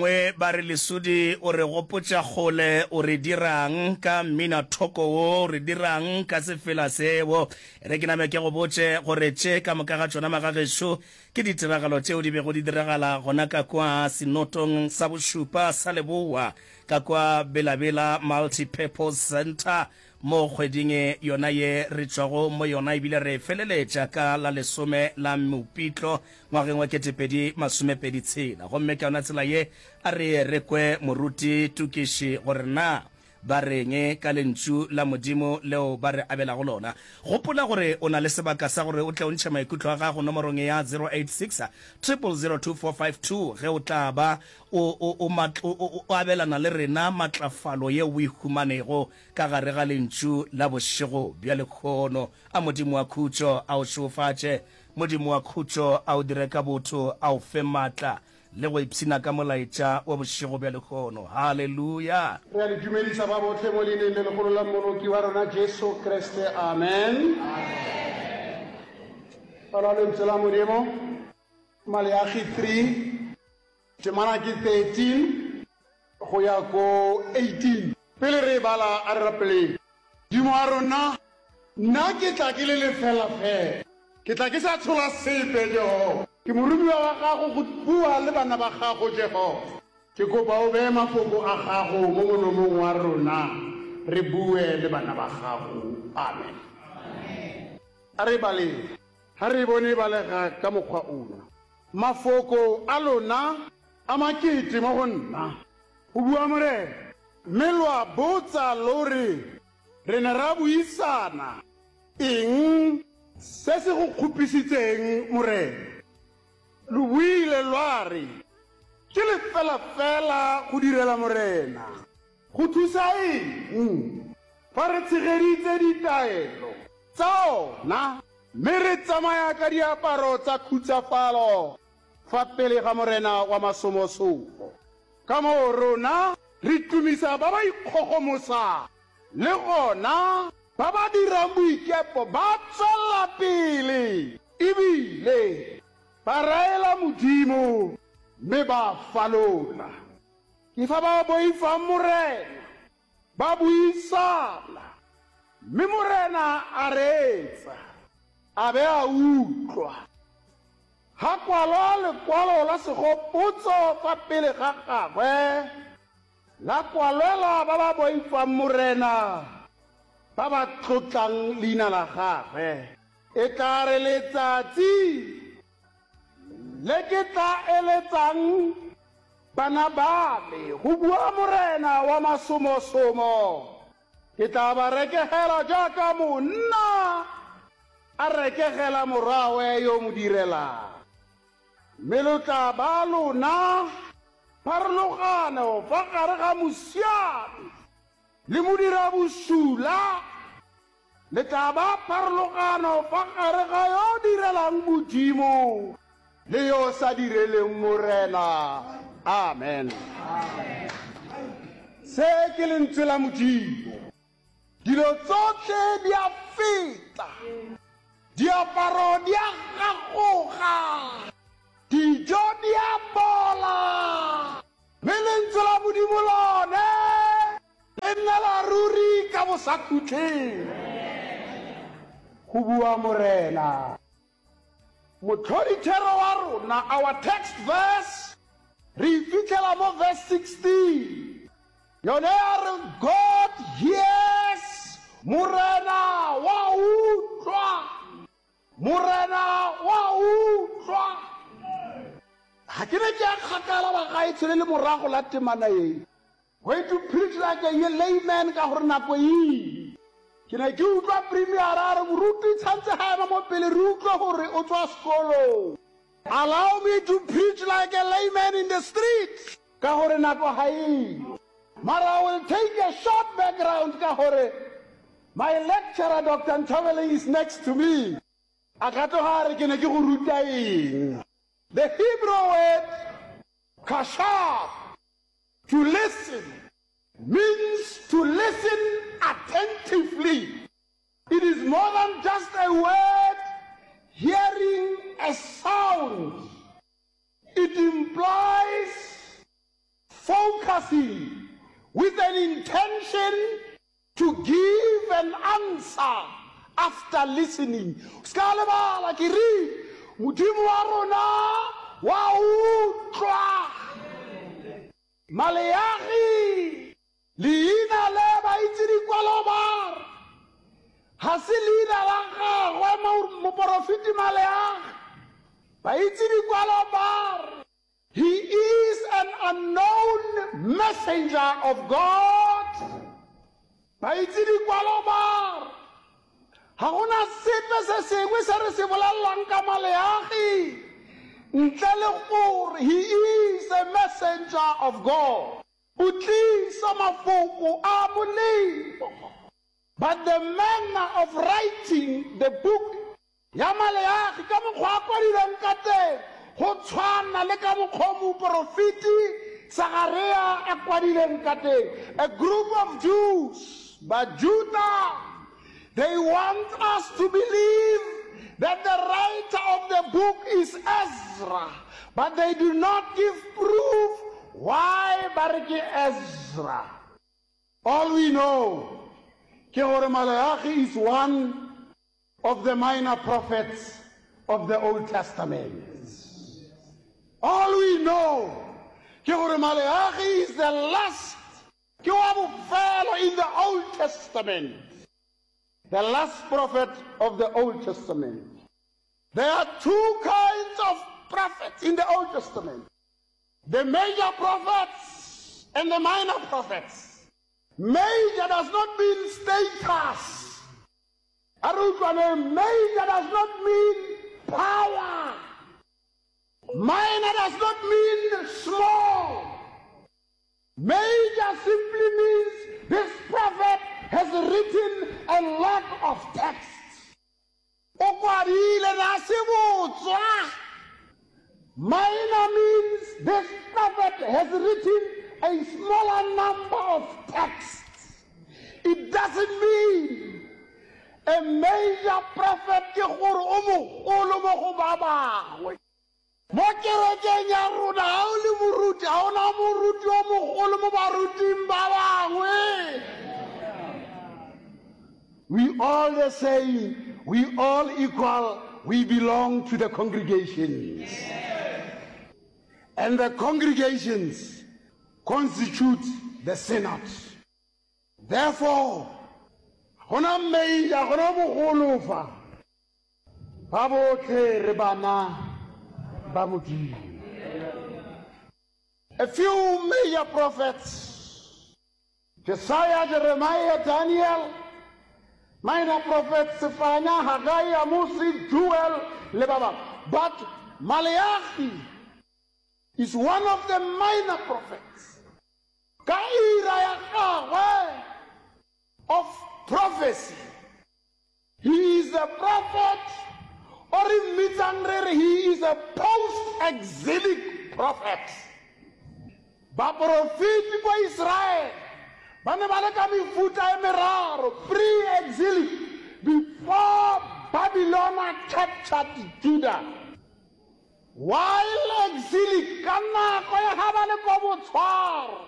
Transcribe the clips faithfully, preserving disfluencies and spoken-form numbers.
Bangwe ba re Lesodi o re gopotša kgole, o re dirang ka mminathoko wo, o re dirang ka sefela seo. E re ke name ke go botše gore tše ka moka ga tšona magagešo ke ditiragalo tšeo di bego di diragala gona ka kwa Senotong sa Bošupa sa Leboa ka kwa Bela-Bela Multi-Purpose Centre mo kgweding yona ye re tšwago mo yona ebile re e feleletša ka la lesome la Mopitlo ngwageng wa ketepedi masomepedi tshela. Gomme ka yona tsela ye, a re ye re kwe Moruti Tukiši gore na ba reng ka Lentšu la Modimo leo ba re abelago lona. Gopola gore o na le sebaka sa gore o tle o ntšhe maikutlo a gago nomorong ya zero eight six, triple zero two four five two ge o tla ba o, o, o, o, o abelana le rena matlafalo yeo o e humanego ka gare ga Lentšu la bošego bja lehono. A Modimo wa khutšo a o šegofatše. Modimo wa khutšo a o dire ka botho, a o fe maatla le go ipshina ka molaetša wa bošego bja lehono. Haleluya! Re a le dumedisa ba bohle mo Leineng le legolo la Mmoloki wa rona Jesu Kriste. Amen. Bala Lentswe la Modimo, Maleagi three, temana ke thirteen go ya ko eighteen. Pele re e bala, a re rapeleng. Modimo wa rona, nna ke tla ke le lefela fela. Ke tla ke sa tshola sepe, Jehofa. Ke moromiwa wa gago go bua le bana ba gago, Jehofa. Ke kopa o beye mafoko a gago mo molomong wa rona, re bue le bana ba gago. Amen. A re e baleng. Ha re e bone e balega ka mokgwa ona. Mafoko a lona a makete mo go nna, go bua Morena. Mme lwa botsa lo re, Re ne ra buisana eng se se go kgopisitseng, Morena? Lo buile lwa re, Ke lefela-fela go direla Morena. Go thusa eng fa re tshegeditse ditaelo tsa ona mme re tsamaya ka diaparo tsa khutsafalo fa pele ga Morena wa masomosomo? Ka moo rona re tumisa ba ba ikgogomosang, le gona ba ba dirang boikepo ba tswelela pele ebile ba raela Modimo mme ba falola. Ke fa ba boifang Morena ba buisana, mme Morena a reetsa a be a utlwa. Ga kwalwa lekwalo la segopotso fa pele ga gagwe, la kwalelwa ba ba boifang Morena, ba ba tlotlang leina la gagwe. E tla re letsatsi le ke tla eletsang bana ba me, go bua Morena wa masomosomo, ke tla ba rekegela jaaka monna a rekegela morwawe yo mo direlang. Mme lo tla ba lona pharologano fa gare ga mosiami le modirabosula, le tla ba pharologano fa gare ga yo direlang Modimo le yo sa direleng Morena. Amen. Se ke lentswe la Modimo. Dilo tsohle di a feta, diaparo di a gagoga, dijo di a bola, mme lentswe la Modimo lone le nnela ruri ka bosakhutleng, go bua Morena. Motlhodithero wa rona, our text verse, re e fitlhela mo verse sixteen. Yone ya re, God hears, Morena wa utlwa, Morena wa utlwa. Ga ke ne ke ya kgakala bagaetsho le le morago la temana ye. Going to preach like a layman ka gore nako e ile. Ke ne ke utlwa premier a re moruti tshwantse ga ema mo pele re utlwe gore o tswa sekolong. Allow me to preach like a layman in the street ka gore nako ga e yo. Mara I will take a short background ka gore my lecturer Doctor Nthabeleng is next to me. A ka tloga a re ke ne ke go ruta eng. The Hebrew word kashab, to listen, means to listen attentively. It is more than just a word hearing a sound. It implies lefaseng with an intention to give an answer after listening. O se ka lebala ke rile Modimo wa rona wa utlwa. Maleagi, leina le baitse dikwalo ba re ga se leina la gagwe moporofeti Maleagi. Baitse dikwalo ba re he is an unknown messenger of God. Baitse dikwalo ba re ga gona sepe se sengwe se re se bolelelang ka Maleagi ntle le gore he is a messenger of God. O tlisa mafoko a molemo. But the manner of writing the book ya Maleagi ka mokgwa a kwadilweng ka teng go tshwana le ka mokgwa o moporofeti Sagaria a kwadileng ka teng. A group of Jews, Bajuda, they want us to believe that the writer of the book is Ezra, but they do not give proof why ba re ke Ezra. All we know ke gore Maleagi is one of the minor prophets of the Old Testament. All we know ke gore Maleagi is the last, ke wa bofelo in the Old Testament. The last prophet of the Old Testament. There are two kinds of prophets in the Old Testament. The major prophets and the minor prophets. Major does not mean status. A re utlwaneng, major does not mean power. Minor does not mean small. Major simply means this prophet has written a lot of texts. O kwadile na se botswa. Minor means this prophet has written a smaller number of texts. It doesn't mean a major prophet ke gore o mogolo mo go ba bangwe. Mo kerekeng ya rona ga o le moruti, ga ona moruti o mogolo mo baruting ba bangwe. We all the same, we all equal, we belong to the congregations. And the congregations constitute the synod. Therefore, gona major, gona bogolo fa, ba botlhe re bana ba Modimo. A few major prophets, Josiah, Jeremiah, Daniel, minor prophets, Zephaniah, Haggai, Amos, Joel, le ba bangwe. But Malachi is one of the minor prophets. Ka ira ya gagwe of prophecy. He is a prophet, or re mmitsang re re he is a post-exilic prophet. Baporofeti kwa Israel ba ne ba le ka mefuta e meraro, pre-exilic, before Babylon captured Judah. While exilic, ka nako ya ha ba le ko botshwaro,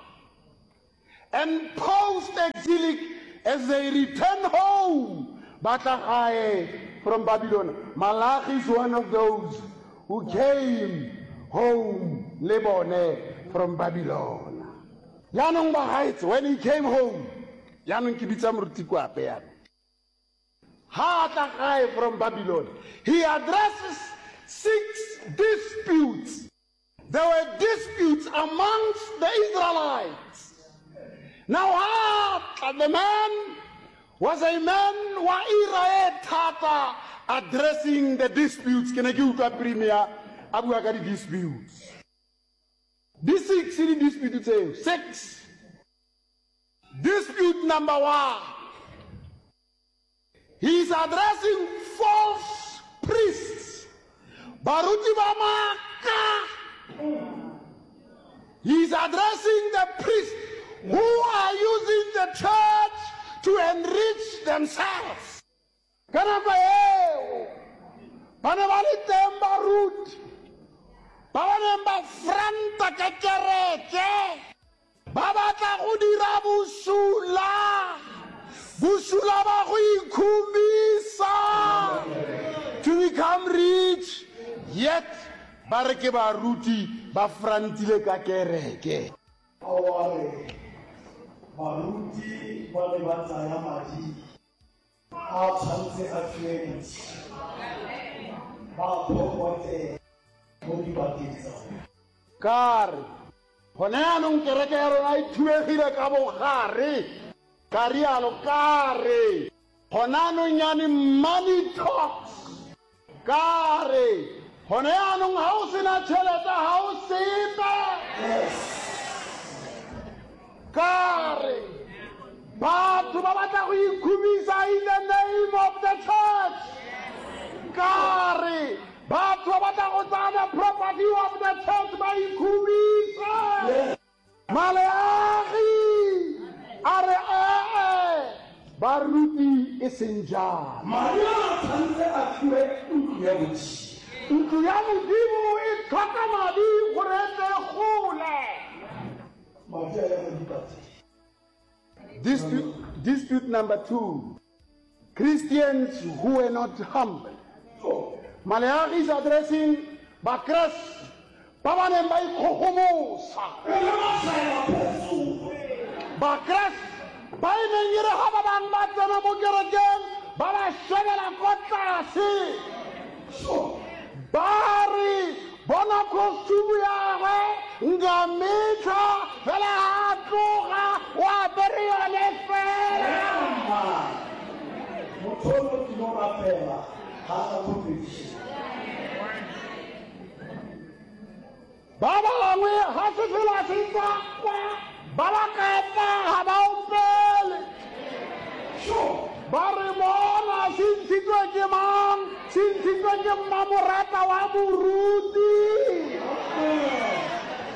and post-exilic, as they return home, ba tla gae from Babylon. Malachi is one of those who came home le bone from Babylon. Jaanong bagaetsho, when he came home, jaanong ke bitsa moruti Kwape jaanong. Ha a tla gae from Babylon, he addresses six disputes. There were disputes amongst the Israelites. Now, ha tla, the man was a man wa ira e thata addressing the disputes. Ke ne ke utlwa premier a bua ka di-disputes. Di six di dispute tseo. Six. Dispute number one. He is addressing false priests. Baruti ba maaka. He is addressing the priests who are using the church to enrich themselves. Ka nako eo, ba ne ba le teng baruti ba ba neng ba franta ka kereke, ba Ba re ke baruti ba frantile ka kereke. Ao a re, Baruti ba ne ba tsaya madi a tshwanetse a fiwe Modimo, ba a phokote mo dibakeng tsa bona. Ka re, Gone jaanong kereke ya rona e thubegile ka bogare. Ka rialo ka re, Gone jaanong yane money talks. Ka re, Gone jaanong ga o sena tšhelete ga o sepe. Ka re, Batho ba batla go ikhumisa in the name of the church. Ka re, Batho ba batla go tsaya the property of the church ba ikhumise. Maleagi a re, Ee, baruti e seng jalo. Madi a a tshwanetse a fiwe ntlo ya Modimo. Ntlo ya Modimo e tlhoka madi gore e tle e gole. Madi a ya mo dipateng. Dispute, dispute number two Christians who were not humble. Maleagi is addressing Bakreste ba ba neng ba ikgogomosa. Bakreste ba e neng e re ga ba bangwe ba tsena mo kerekeng ba ba shebela ko tlase. Ba re, Bona costume ya gagwe, nka metlha fela ga a tloga o apere yone fela. Motho o tlilo rapela ga a tla competition. Ba bangwe ga sefela se tswa kwa ba ba kapa ga ba opele. Ba re bona se ntshitswe ke mang? Se ntshitswe ke mmamorata wa moruti.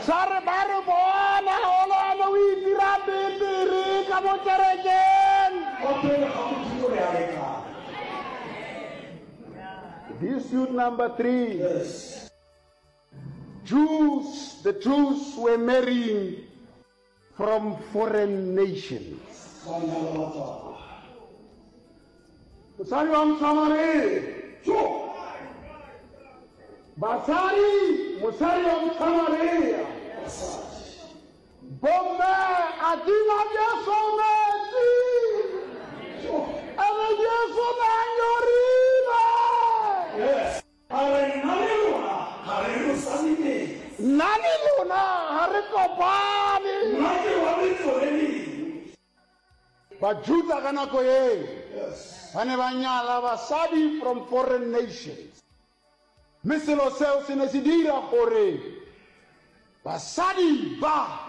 Sa re ba re bona olwane o itira betere ka mo kerekeng. Kwa pele ga Modimo re a lekana. Dispute number three. Yes. Jews, the Jews were marrying from foreign nations. Ba nyala batswakwa. Mosadi wa Mosamaria. Jo! Basadi, mosadi wa Mosamaria. Basadi. Bomme a tima Jesu metsi. Jo! Ene Jesu ne a nyorilwe. Yes. A re nna le lona ga re losane metsi. Nna le lona ga re kopane. Nna ke wa letso le lengwe. Bajuda ka nako yeo Yes. ba ne ba nyala basadi from foreign nations, mme selo seo se ne se dira gore basadi ba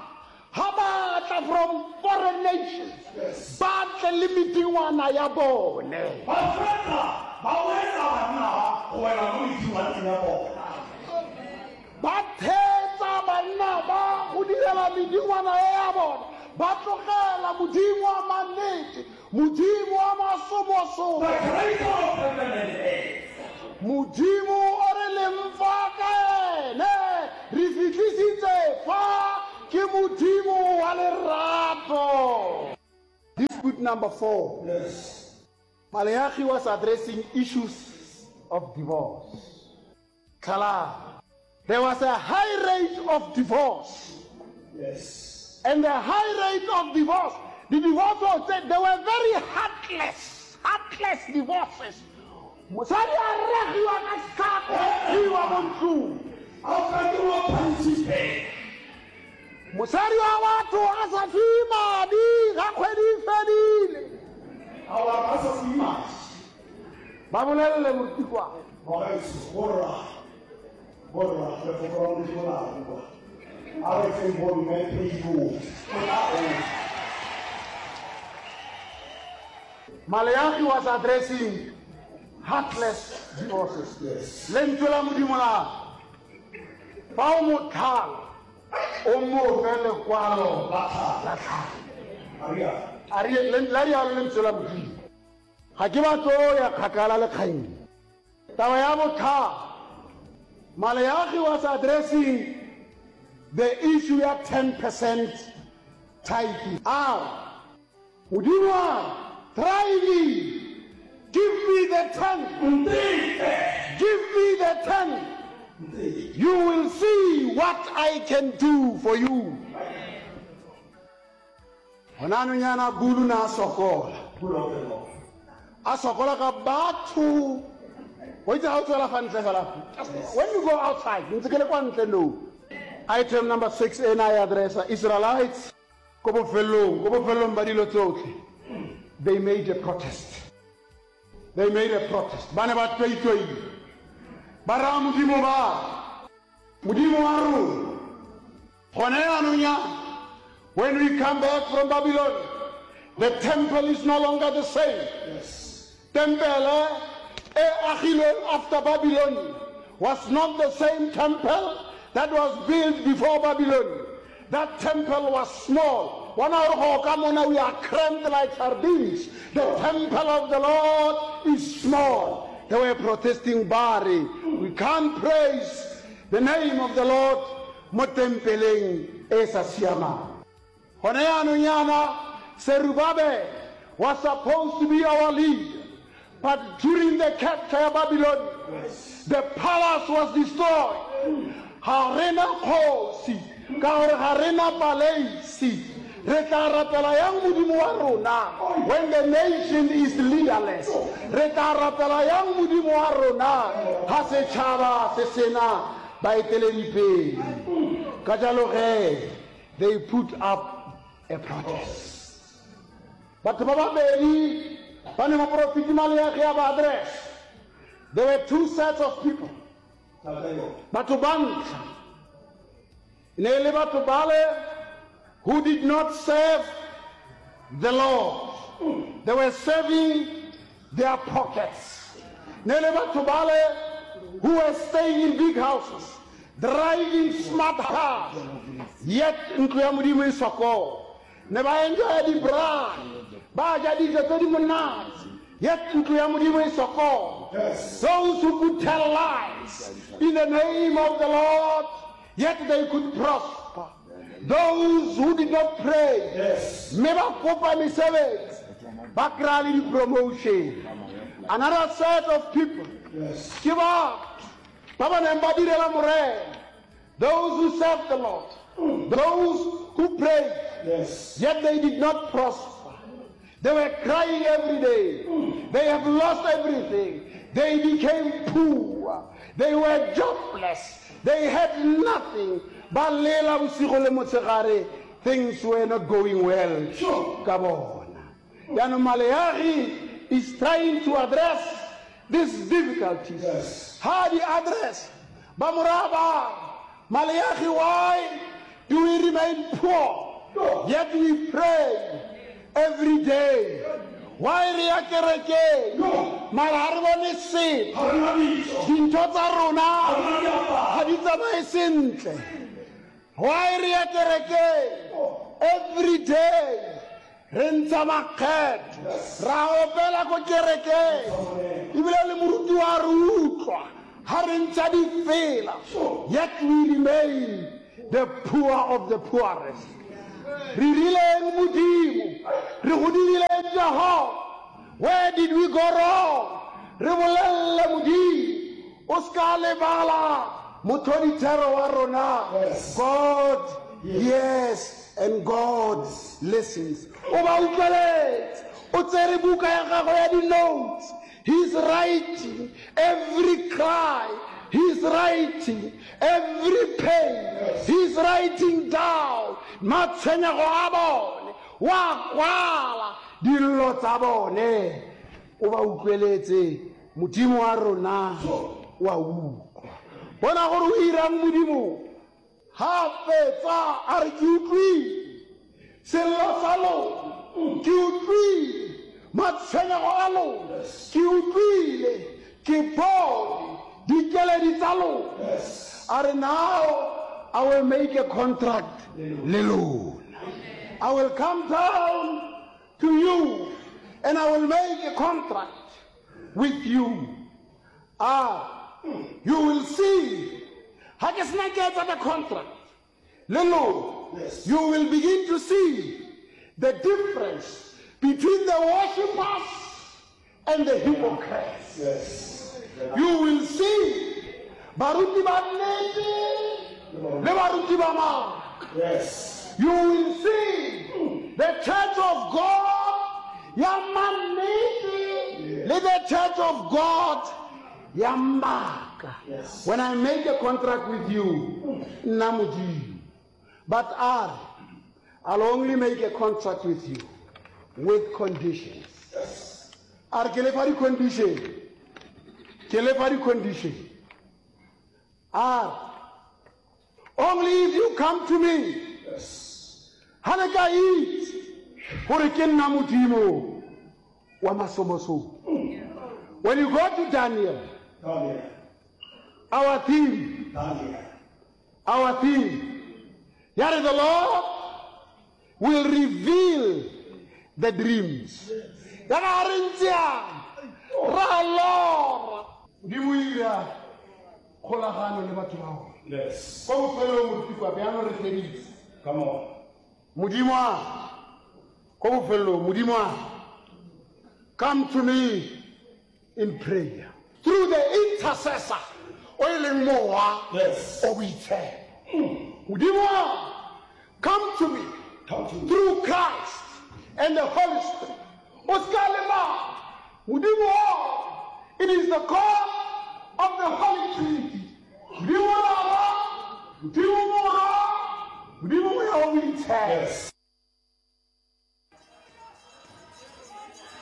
ga ba tla from foreign nations Yes. ba tle le medingwana ya bone. Ba feta ba wetsa banna ba go wela mo medingwaneng ya bona. Ba thetsa banna ba go direla medingwana e ya bona, ba tlogela Modimo wa mannete, Modimo wa masomosomo. The creator of heaven and earth. Modimo o re leng fa ka ene re fihlisitse fa ke Modimo wa lerato. Dispute number four. Yes. Maleagi was addressing issues of divorce. Tlhalano. There was a high rate of divorce. Yes. And the high rate of divorce, the divorce was, they were very heartless, heartless divorces. Mosadi a ragiwa ka setlhako, iwa mo ntlong. A fetola punching bag. Mosadi wa batho a sa fiwe madi ga kgwedi e fedile. A wa ba sa fiwe madi. Ba bolelele morutikwane. Bagaetsho, borra, borra, lefoko la Modimo la bua. A re feng bomme peibo. O tla gola. Maleagi was addressing heartless divorces. Yes. Lentswe la Modimo la re, fa o mo tlhala, o mo fe lekwalo La tlhalo. la tlhalo. A rialo. A ri- len- la rialo lentswe la Modimo. Ga ke batlo ya kgakala le kgang. Taba ya botlhalo. Maleagi was addressing the issue ya ten percent tithing. A re, Modimo a re, try me, give me the ten. Nteke. Give me the ten. You will see what I can do for you. Gona anong yana Bulu na a sokola. A sokola ka batho. Wa itse ga o tswela fa ntle fela. When you go outside, ntse ke le kwa ntle no. Item number six ena e addressa Israelites ko bofelong, ko bofelong ba dilo tsotlhe. They made a protest. They made a protest. Ba ne ba toitoile. Ba raya Modimo ba re, Modimo wa rona, gone jaanong yana, when we come back from Babylon, the temple is no longer the same. Tempele e agilweng after Babylon was not the same temple that was built before Babylon. That temple was small. Bona gore go ka mona we are cramped like sardines. The temple of the Lord is small. They were protesting ba re, we can't praise the name of the Lord mo tempeleng e sa siamang. Gone jaanong yana Zerubbabel was supposed to be our leader, but during the capture ya Babylon, the palace was destroyed. Ga re na kgosi ka gore ga re na paleisi. Re tla rapela yang Modimo wa rona when the nation is leaderless? Re tla rapela yang Modimo wa rona ga setšhaba se sena baeteledipele? Ka jalo ge, they put up a protest. Batho ba babedi ba ne moporofeti Maleagi a ba address. There were two sets of people. Batho ba ntlha e ne e le batho bale who did not serve the Lord. They were serving their pockets. Ne le batho bale who were staying in big houses, driving smart cars, yet ntlo ya Modimo e sokola. Ne ba enjoya di-braai, ba ja dijo tse di monate, yet ntlo ya Modimo e sokola. Those who could tell lies in the name of the Lord, yet they could prosper. Those who did not pray, mme ba kopa mesebetsi, ba kry-a le di-promotion. Another set of people, ke batho ba ba neng ba direla Morena, those who served the Lord, those who prayed, yet they did not prosper. They were crying every day. They have lost everything. They became poor. They were jobless. They had nothing. Ba lela bosigo le motshegare. Things were not going well. Ka bona. Jaanong Maleagi is trying to address these difficulties. Ha di address, ba mo raya ba re, Maleagi, why do we remain poor? Yet we pray every day. Why re ya kerekeng? Mara ha re bone sepe. Dintho tsa rona ga di tsamaye sentle. Why re ya kerekeng? Every day re ntsha makgetho, ra opela ko kerekeng, ebile le moruti wa re utlwa ha re ntsha difela, yet we remain the poor of the poorest. Re rileng Modimo, re go dirileng Jehova? Where did we go wrong? Re bolelle Modimo, o ska lebala mothodithero wa rona. God hears and God listens. O ba utlweletse, o tsere buka ya gagwe ya di-notes. He's writing every cry. He's writing every pain. He's writing down matshwenyego a bone. Wa kwala dillo tsa bone. O ba utlweletse, Modimo wa rona wa utlwa. Bona gore o irang Modimo. Ha fetsa a re ke utlwile sello sa lona, ke utlwile matshwenyego a lona, ke utlwile, ke bone dikeledi tsa lona. A re now I will make a contract le lona. I will come down to you and I will make a contract with you. Ah, you will see. Ha ke sena ke etsa the contract le lona, you will begin to see the difference between the worshippers and the hypocrites. You will see Baruti ba nnete le baruti ba maaka. Yes. You will see the church of God ya mannete le the church of God ya maaka. Yes. When I make a contract with you, nna Modimo, but a re, I'll only make a contract with you with conditions. Yes. A re ke le fa di-condition, ke le fa di-condition. A re, only if you come to me, Yes. ha le ka itse gore ke nna Modimo wa masomosomo. When you go to Daniel, Daniel. our theme, Daniel. our theme, ya re the Lord will reveal the dreams. Ya ga re ntse yana, ra lora. Modimo o ira kgolagano le batho ba ona. Yes. Kwa bofelong moruti kwa bjalo re feditse. Come on. Modimo a ko bofelong Modimo a come to me in prayer through the intercessor o e leng mowa Yes. o boitshepo. Modimo a come to me Come to me. through Christ and the Holy Spirit. O ska lebala Modimo o, it is the God of the Holy Trinity. Modimo Baba, Modimo Morwa, Modimo Moya o Boitshepo. Yes.